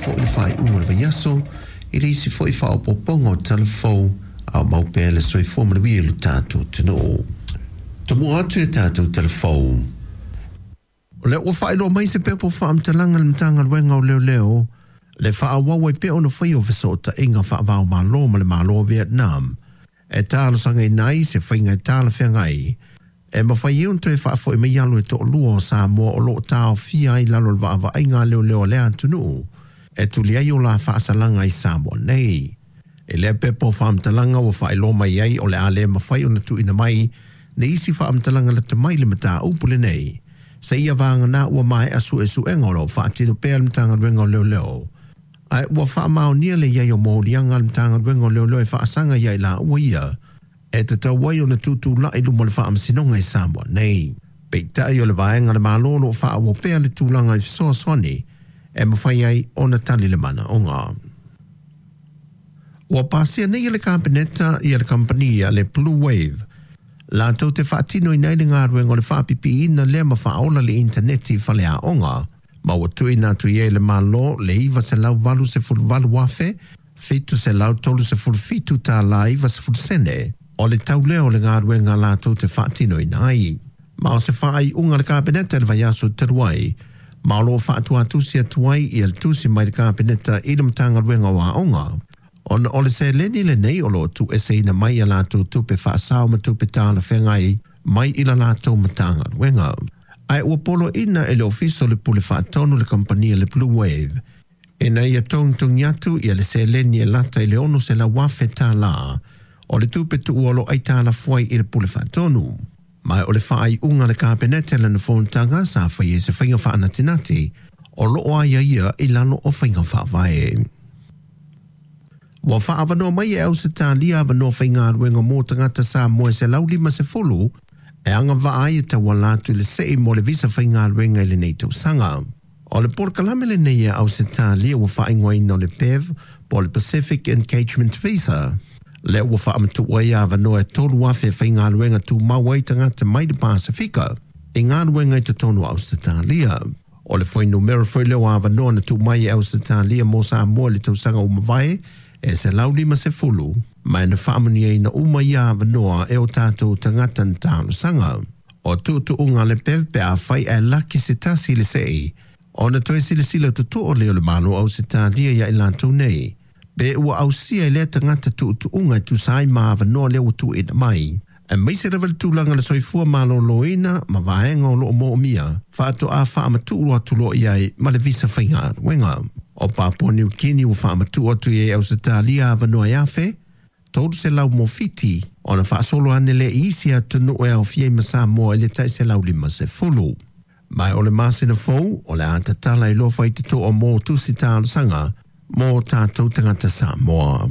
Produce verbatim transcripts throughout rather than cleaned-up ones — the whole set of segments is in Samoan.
foi le faaiuga o le vaiaso i le isi foi faaopoopoga o tala fou a o mau pea le soifua manuia i lo tatou atunuu. Tomua atu i a tatou tala fou. O lea ua faailoa mai se pepa o faamatalaga a le Matagaluega o Leoleo le faaauau ai pea ona faia o fesootaiga faava-o-Malo ma le Malo o Vietnam e talosagaina ai se faiga e talafeagai e mafai ai ona toe faafoi mai alo e toalua o Samoa o lo o taofia ai i lalo o le vaavaaiga a leoleo a lea atunuu e tuli ai o la faasalaga i Samoa nei. I lea pepa o faamatalaga ua faailoa mai ai o le a le mafai ona tuuina mai nisi faamatalaga lata mai le mataupu lenei seia vagana ua maea suesuega o lo o faatino pea le Matagaluega o Leoleo. Ae ua faamaonia le i ai o moliaga a le Matagaluega o Leoleo e faasaga ia i laua ia e tatau ai ona tutulai luma o le faamasinoga i Samoa nei. Peitai o le vaega a le Malo o lo o faaauau pea le tulaga i fesoasoani e mafai ai ona tali le manaoga. Ua pasia nei e le Kapeneta ia le kamupani a le Blue Wave latou te faatinoina ai le galuega o le faapipiina lea ma faaola le initaneti i faleaoga, ma ua tuuina atu i ai e le Malo le iva selau valu sefulu valu afe fitu selau tolu sefulu fitu tālā iva sefulu sene o le tau lea o le galuega latou te faatinoina ai. Ma o se faaiuga a le Kapeneta i le vaiaso talu ai, ma o lo o faatuatusi atu ai ia le tusi mai le Kapeneta i le Matagaluega o Aoga, ona o le seleni lenei o lo o tuueseina mai a latou tupe faasao ma tupe talafeagai mai i la latou Matagaluega. Ae ua poloaiina e le Ofisa o le Pule Faatonu le kamupani a le Blue Wave ina ia togitogi atu ia le seleni e lata i le ono selau afe tālā o le tupe tuua o lo o aitalafu ai i le Pule Faatonu. Ma o le faaiuga a le Kapeneta i lana fonotaga sa faia i se faiga faanatinati o lo o aiaia i lalo o faiga faavae. Ua faaavanoa mai e Ausetalia avanoa faigaluega mo tagata Samoa e selau lima sefulu e agavaa ai e tauala atu i le sei mo le visa faigaluega i lenei tausaga. O le polokalame lenei a Ausetalia ua faaigoaina o le P E V po o le Pacific Engagement Visa. Lea ua faamatuu ai avanoa e tolu afe faigaluega tumau ai tagata mai le Pasifika i galuega i totonu o Ausetalia. O le fuainumera foi lea o avanoa na tuu mai e Ausetalia mo Samoa i le tausaga ua mavae e selau lima sefulu, ma e na faamanuiaina uma ia avanoa e o tatou tagata na talosaga. O tuutuuga a le P E V pe afai ae laki se tasi i le sei, ona toe silasila totoo lea o le Malo o Ausetalia ia i latou nei, pe ua ausia e lea tagata tuutuuga e tusa ai ma avanoa lea ua tuuina mai. Aemaise lava le tulaga o le soifua maloloina ma vaega o lo o moomia, faatoa faamatuu atu loa i ai ma le visa faigaluega. O Papua New Guinea ua faamatuu atu i ai Ausetalia avanoa e afe, tolu selau mo Fiti, ona faasolo ane lea i isi atunuu e aofia ai ma Samoa i le tai selau lima sefulu. Ma o le masina fou, o le a tatala i loa faititoa mo tusi talosaga mo tatou tagata Samoa.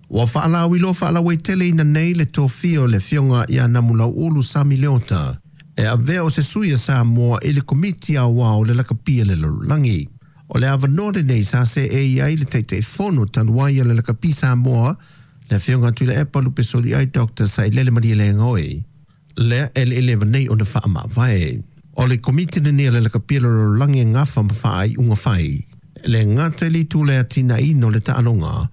Ua faalauiloa faalauaiteleina nei le tofia o le Afioga ia Namulauulu Sami Leota e avea o se sui a Samoa i le Komiti Aoao o le Lakapi a le Lalolagi. O le avanoa lenei sa seei ai le Taitaifono talu ai a le Lakapi Samoa, le Afioga Tuilaepa Lupesoliai Doctor Sailele Malielegaoi, lea e eleeleva nei ona faamavae. O le Komiti lenei a le Lakapi a le Lalolagi e gafa ma faaiuga fai, le gata i le itu le atinaeina o le taaloga,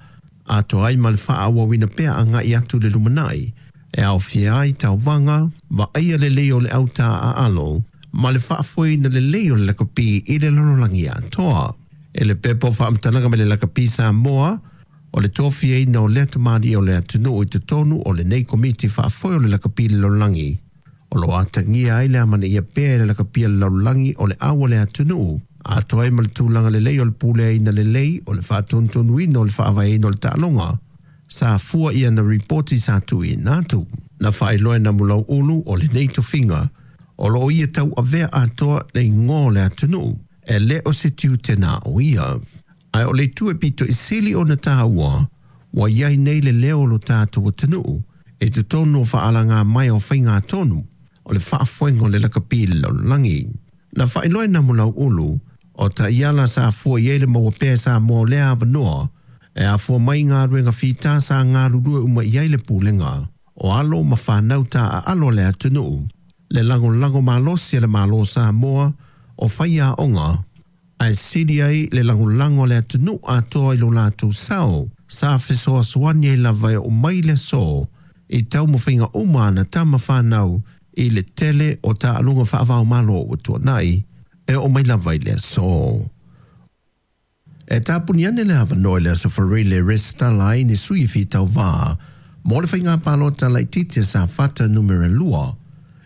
atoa ai ma le faaauauina pea agai atu i le lumanai, e aofia ai tauvaga, vaaia lelei o le auta aalo, ma le faafoeina lelei o le lakapi i le lalolagi atoa. E le pepa o faamatalaga mai le Lakapi Samoa, o le tofiaina o lea tamalii o le atunuu i totonu o lenei Komiti Faafoe o le Lakapi i le Lalolagi, o lo o atagia ai le amanaia pea e le Lakapi a le Lalolagi o le au o le atunuu, atoa ai ma le tulaga lelei o le puleaina lelei o le faatonutonuina o le faavaeina o le taaloga, sa fua ia na ripoti sa tuuina atu. Na faailoa e Namulauulu o lenei tofiga, o lo o ia tauavea atoa le igoa o le atunuu, e le o se tiute na o ia. Ae o le itu e pito i sili ona tāua, ua i ai nei le leo o lo tatou atunuu, e totonu o faalagā mai o faiga tonu, o le faafoega o le lakapi i le lalolagi. Na faailoa e Namulauulu, o taiala sa fua i ai le maua pea e Samoa o lea avanoa, e afua mai galuega fita sa galulue uma i ai le pulega, o alo ma whanau tā aalo le atunuu, le lagolago malosi a le Malo o Samoa, o faiaoga, Ae sili ai le lagolago a le atunuu atoa i lo latou sao sa fesoasoani ai lava e oo mai le aso i taumafaiga uma a ana tama fanau i le tele o taaloga faava-o-Malo ua tuanai e oo mai lava i le aso. E tapuni ane le avanoa i le Aso Faraile e resitala ai ni sui e fia tauvā mo le faiga palota laitiiti a Safata Numera lua,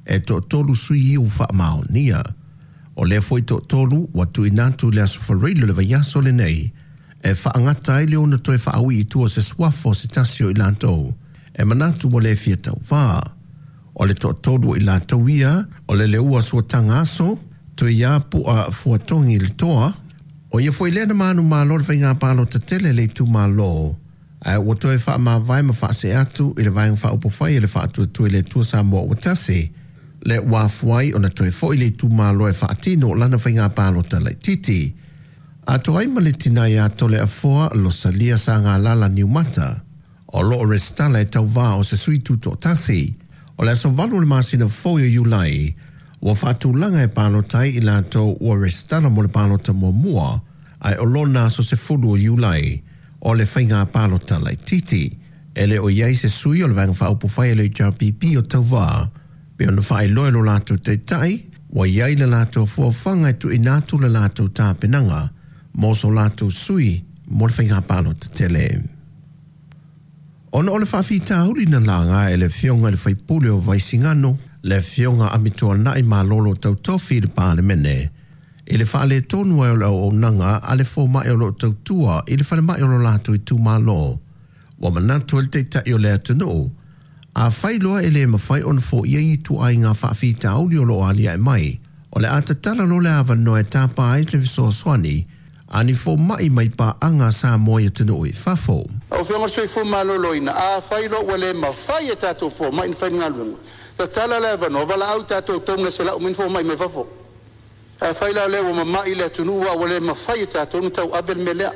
e toatolu sui ua faamaonia. O lea foi toatolu ua tuuina atu i le Aso Faraile o le vaiaso lenei e faagata ai le ono toe faaui i tua o se suafa o se tasi o i latou e manatu ua le fia tauvā. O le toatolu o i latou ia, o le Leua Suataga Aso, Tuiapu'a Fuatogi Letoa, o ia foi lea na manumalo i le faiga palota tele a le itumalo, ae ua toe faamavae ma faasee atu i le Vaega Faaupufai a le Faatuatua i le Atua Samoa ua Tasi, lea ua afua ai ona toe foi i le itumalo e faatino lana faiga palota laitiiti. Atoa ai ma le tina ia Toleafoa Losalia Sagalala Niumata, o lo o resitala e tauvā o se sui tutoatasi. O le aso valu o le masina fou o Iulai, ua faatulaga e palota ai i latou ua resitala mo le palota muamua, ae o lona aso sefulu o Iulai o le faiga palota laitiiti. E le o i ai se sui o le Vaega Faaupufai a le H R P P o tauvā, pei ona faailoa e lo latou taitai, ua i ai le latou fuafuaga e tuuina atu le latou tapenaga mo so latou sui mo le faiga palota tele. Ona o le faafitauli na laga e le afioga i le faipule o Vaisigano, le afioga Amituanai Malolo Tautofi i le Palemene, i le faaletonu ai o le auaunaga a le fomai o lo o tautua i le falemai o lo latou itumalo, ua manatu ai le taitai o le atunuu, afai loa e le mafai ona foia ia ituaiga faafitauli o lo o aliae mai, o le a tatala loa le avanoa e tapa ai le fesoasoani a ni fomai mai paaga a Samoa i atunuu i fafo. Lau Afioga i le Soifua Maloloina, afai loa ua le mafai e tatou fomai ona fai le galuega, tatala le avanoa, valaau tatou tonu se lau mai ni fomai mai fafo. Afai la lea ua mamai le atunuu a ua le mafai e tatou ona tauave le mea lea.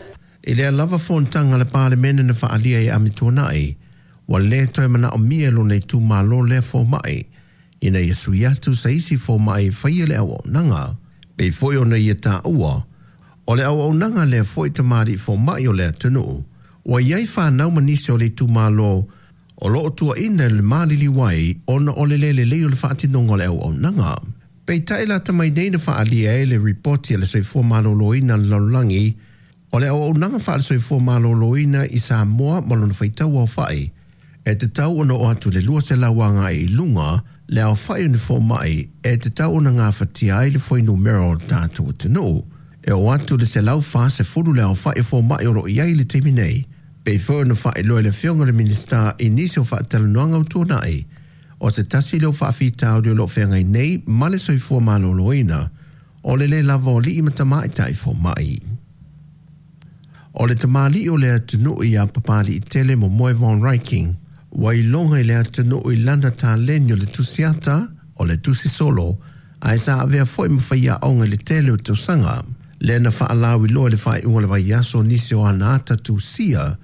I lea lava fonotaga a le Palemene na faaalia e Amituanai, ua le toe manaomia e lona itumalo lea fomai, ina ia sui atu sa isi fomai e faia le auaunaga. Pei foi ona ia taua, o le auaunaga lea foi tamalii fomai o le atunuu, ua i ai fanau ma nisi o le itumalo o lo o tuuaina i le maliliu ai ona o le le lelei o le faatinoga o le auaunaga. Peitai lata mai nei na faaalia ai le ripoti a le Soifua Maloloina a le Lalolagi, o le auaunaga faale-soifua maloloina i Samoa ma lona faitau aofai, e tatau ona oo atu i le lua selau agai i luga le aofai o ni fomai e tatau ona gafatia ai le fuainumera o le tatou atunuu. E oo atu i le selau fa sefulu le aofai o fomai o lo o i ai i le taimi nei, pei foi ona faailoa e le Afioga i le Minisita i nisi o faatalanoaga ua tuanai, o se tasi lea o faafitauli o lo o feagai nei ma le soifua maloloina, o le le lava o alii ma tamaitai fomai. O le tamalii o le atunuu ia Papaliitele Momoe Von Ryking, ua iloga i le atunuu i lana taleni o le tusiata, o le tusi solo, ae sa avea foi ma faiaoga i le tele o tausaga. Lea na faalauiloa i le faaiuga o le vaiaso nisi o ana ata tusia,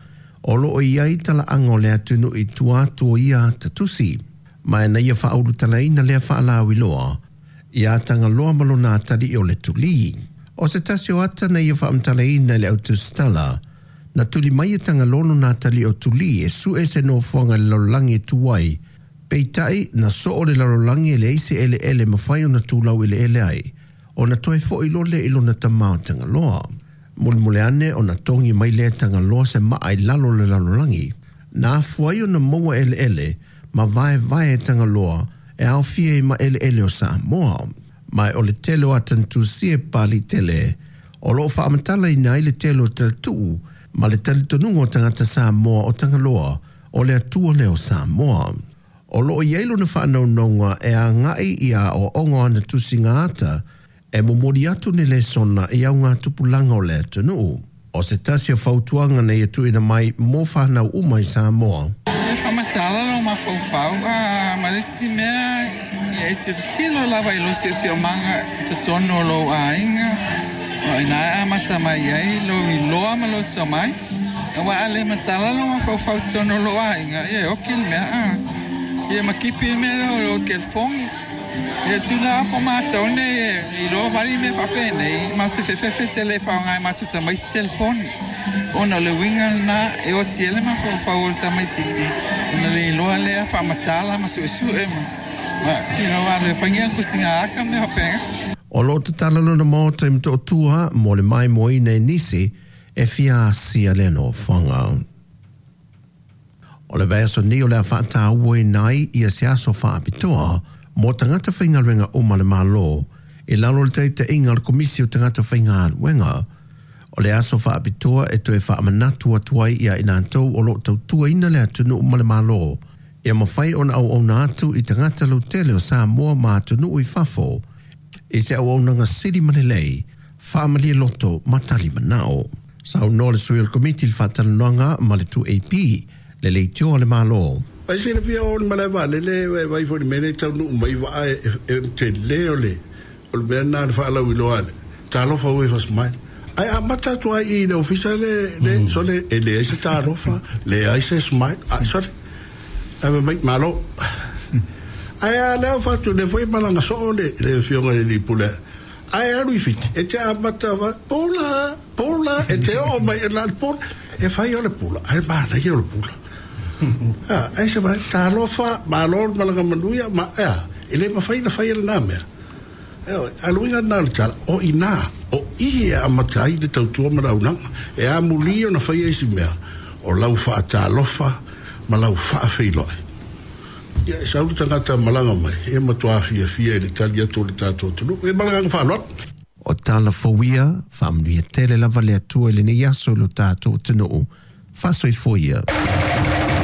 o lo o i ai talaaga o le atunuu i tua atu o ia ata tusi. Ma na ia faaulutalaina lea faalauiloa, ia Tagaloa ma lona atalii o le Tulī. O se tasi o ata na ia faamatalaina i le autusitala, na tuli mai e Tagaloa lona atalii o Tulī e sue se nofoaga i le lalolagi e tu ai, peitai na soo le lalolagi e leai se eleele e mafai ona tulau eleele ai, ona toe foi loa lea i lona tama o Tagaloa. Mulimuli ane ona togi mai lea e Tagaloa se maa i lalo o le lalolagi, na afua ai ona maua eleele ma vaevae e Tagaloa e aofia ai ma eleele o Samoa. Ma o le tele o ata na tusia e Papaliitele, o lo o faamatalaina ai le tele o talatuu ma le talitonuga o tagata Samoa o Tagaloa o le Atua lea o Samoa. O lo o i ai lona faanaunauga e agai i aoaoga o ana tusiga ata e momoli atu ni lesona i augatupulaga o le atunuu. O se tasi o fautuaga na ia tuuina mai mo fanau uma i Samoa. E faamatala lou mafaufau a ma le isi mea ia e tilotilo lava i lou siosiomaga i totonu o lou aiga, o ina e amata mai ai lou iloa ma lou tomai. Aua a le matala lou mafaufau i totonu o lou aiga, ia e oki le mea a. Ia ma kipi le mea lea o lou telefoni. E tuna po mātou ne i loa vali mea faapenei matou fefefe le faaaoga e matou tamaiti selefoni ona o le uiga lenā e oti ai le mafaufau o le tamaititi ona le iloa lea faamatala ma suesue ma ma you know alu e faigia kusiga aka mea faapega. O lo o tatala lona maota i Motootua mo le maimoaina e nisi e fia asia lea nofoaga. O le vaiaso nei o le a faatauaina ai ia se aso faapitoa mo tagata faigaluega uma a le Malo i lalo o le taitaiga o le Komisi o Tagata Faigaluega. O le aso faapitoa e toe faamanatu atu ai ia i latou o lo o tautuaina le atunuu ma le Malo ia mafai ona auauna atu i tagata lautele o Samoa ma atunuu i fafo i se auaunaga sili ma lelei, faamalie loto ma tali manao. Saunoa le sui o le Komiti i le faatalanoaga ma le two A P, le leitioa a le Malo. Ai silafia o le malae vaalele e vai foi le mea lea e taunuu mai vaa e e tele o le o le mea lena le faalauiloa le talofa ue fasmile. Ai amata atu ai i le ofisa le le sole e leai se talofa, leai se smile, a sole. Ai mai malo. Ai a lea fatu le foi malaga soo le le afioga i le pule. Ai alu i Fiti, e te amata va, pula, pula, e te oo mai e la le pula, e fai o le pula, ai manaia o le pula. Ah, ai se vai, talofa, malo le malaga manuia, ma, ea, e le mafai na fai e lenā mea. E oi, a luiga nā le tala, o inā, o i e amata ai le tautua ma le auaunaga, e amuli ona fai ai si mea, o lau faatalofa ma lau faafeiloai. Ia, e sau le tagata malaga mai, e matua fiafia i le tali atu o le tatou atunuu, e malaga faaaloalo. O tala fou ia, faamanuia tele lava le Atua i lenei aso i lo tatou atunuu. Faasoifua ia.